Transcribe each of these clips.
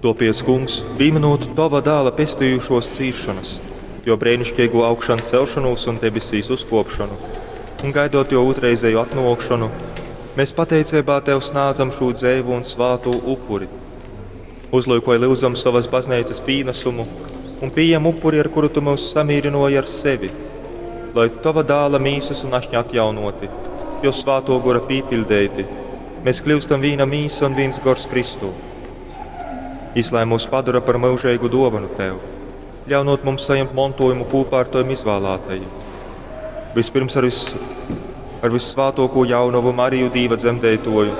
Tuopiec, Kungs, pīminūt Tova dāla pestījušuos cīsšonas, juo breiniškeigū augšancelšonūs un debesīs uzkuopšonu, un gaidot juo ūtrreizeju atnuokšonu, mēs pateiceibā Tev snādzam šū dzeivu un svātū upuri. Uzlyukoj, lyudzam, sovas bazneicas pīnasumu un pījem upuri, ar kuru Tu myus samīrynuoji ar sevi, lai Tova dāla mīsas un ašņa atjaunoti, jo svātuo gora pīpiļdeiti, mēs kļūstam vīna mīsa un vīns gors Kristū. Jis lai mūs padora par myužeigu duovanu Tev, ļaunot mums sajimt montojumu kūpā ar Tovim izvālātajim. Vispirms ar, vis, ar vissvātuokū jaunovu Mariju Dīva dzemdeituoju,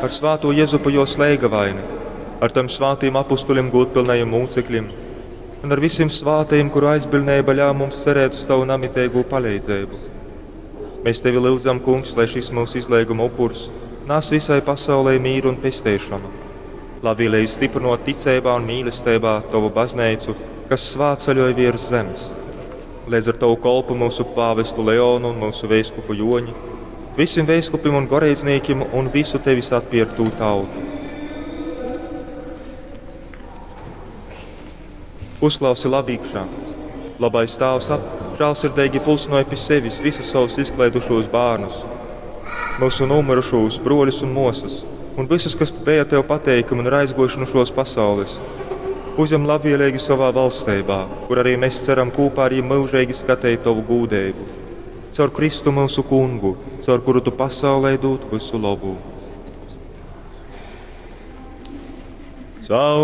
ar svātū Jezupu juos leigavaini, ar Tavim svātīm apustuļim gūdpilnajim mūcekļim un ar visiem svātajiem, kuru aizbiļneiba ļauj mums cerēt uz Tavu namiteigū paleidzeibu. Mēs Tevi lyudzam, Kungs, lai šis mūsu izleiguma upurs nes visai pasaulei mīru un pesteišanu. Labvēlīgi stiprinot ticeibā un mīlestībā Tavu baznīcu, kas svātceļoj virs zemes. Līdz ar Tavu kolpu mūsu pāvestu Leonu un mūsu veiskupu Joņi, visiem veiskupim un goreizniekiem un visu Tevis atpirktū tautu. Uzklausi labīkšā. Labais tēvs ap žēlsirdīgi pulsināja pie sevis visus savus izklaidušos bērnus, mūsu nomirušos broļus un mosas, un visus, kas bija tev pateikami un ir aizgojuši no šos pasaules. Uzņem labvēlīgi savā valstībā, kur arī mēs ceram kopā ar viņiem mūžīgi skatīt tavu gūdību. Caur Kristu mūsu kungu, caur kuru tu pasaulē dod visu labu. Caur